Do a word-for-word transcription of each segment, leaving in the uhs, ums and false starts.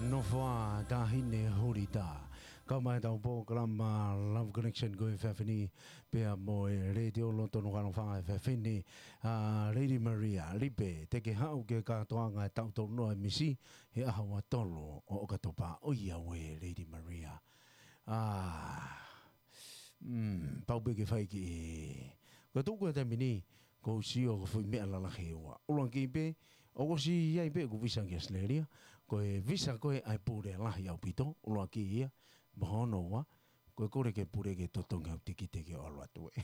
Nofoa Tahine Hulita. Kau mai tau polokalama Love Connection ko e efiafi ni, pea mo e Letiō Loto Nukuʻalofa efiafi ni, ʻa Lady Maria Lipe, te ke haʻu ke kātoanga e taʻu tolu noa e misi, he ʻaho ua tolu ʻo ʻOkatopa. ʻOiauē Lady Maria. ʻA, mm, pau pē ke fai ki, ko e tuʻu ko e taimi ni, ʻoku ou sio ko e foʻi meʻa lalahi ʻe ua. ʻUluaki pē, ʻoku ou sio ai pē ʻoku visa ki ʻAositelēlia, ko e visa ko ē ʻa e pule lahi ʻaupito, ʻuluaki ia, mo hono ua, ko e kole ki he pule ke totongi au tikite ke ʻalu atu ē.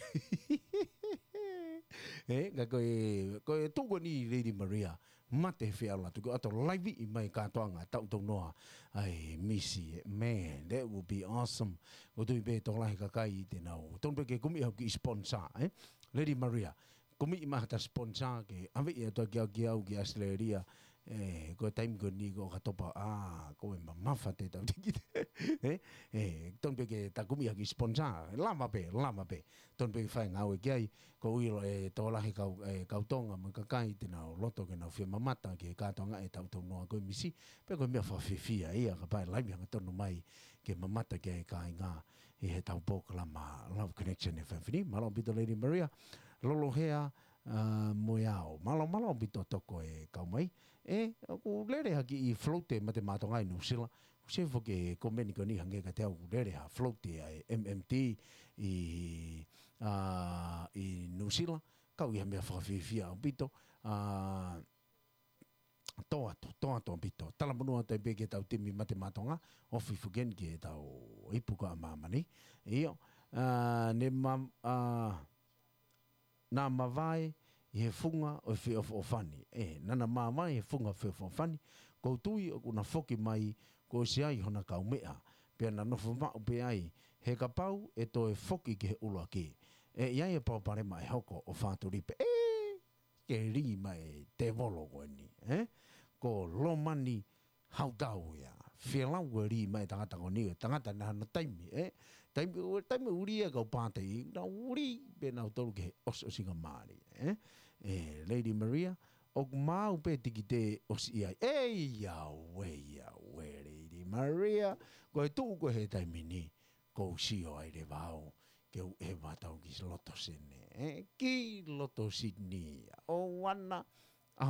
Ē, ka ko e, ko e tuʻu ko eni Lady Maria, mate he fie ʻalu atu, ko e ʻalu atu laivi mai kātoanga taʻu tolu noa ʻa e misi ē. Man, that would be awesome. ʻOku ou tui pē tokolahi e kakai te nau tonu pē ke kumi au ki sponsor, ē. Lady Maria, kumi mai haʻata sponsor ke ʻave ia atu ki au, ki au ki ʻAositelēlia, ē, ko e taimi ko eni ko ʻOkatopa, ʻa, ko e mamafa te tau tikite. Ē, ē, tonu pē ke ta kumi au ki sponsor, lava pē, lava pē. Tonu pē ke fai e ngāue ki ai, ko e ʻilo ʻe tokolahi e kau, e kau Tonga mo e kakai te nau loto ke nau fie mamata ki he kātoanga e taʻu tolu noa ko e misi, pea ko e meʻa fakafiefia ia kapau ʻe laivi hangatonu mai ke mamata ki ai e kāinga ʻi heʻetau polokalama Love Connection efiafi ni. Mālō ʻaupito Lady Maria, Lolohea, ʻa, mo e ao. Mālō, mālō ʻaupito toko e kau mai. Ē, ʻoku lele ha kiʻi float e Mate Maʻa Tonga ʻi Nuʻusila. ʻOku ou sio foki ki he komeni ko eni hangē kiate au ʻoku lele ha float ʻa e M M T ʻi, ʻa, ʻi Nuʻusila. Kau ia meʻa fakafiefia ʻaupito. ʻA, tō atu, tō atu ʻaupito. Talamonū atu ai pē ki heʻetau timi Mate Maʻa Tonga, ofi foki eni ki heʻetau ipu ko ē ʻa māmani. ʻIo, ʻa, ne ma-, ʻa, naʻa mavae ʻi he funga ʻo e feʻofoʻofani. Ē, naʻa na mavae he funga feʻofoʻofani. ʻOku ou tui ʻoku na foki mai, kuo ʻosi ai hona kaumeʻa. Pea na nofo maʻu pē ai, he kapau ʻe toe foki ki he ʻuluaki, ʻe ʻi ai e palopalema ʻe hoko ʻo fātuli pē. Ē, ke lī mai e tēvolo ko eni, ē? Ko Lomani Hautau ia. Fielau ko e lī mai e tangata ko eni, tangata naʻa na taimi, ē? Taimi, taimi ʻuli e kau pātei, na ʻuli pē nautolu ki he ʻosiʻosingamālie, ē? Ē, Lady Maria, ʻoku maau pē tikite ʻosi ʻi ai. ʻEi, ʻauē, ʻauē, Lady Maria. Ko e tuʻu ko ē he taimi ni, ʻoku ou sio ai leva au ke u ʻeva atu au ki loto Sini, ē, ki loto Sini. ʻOua naʻa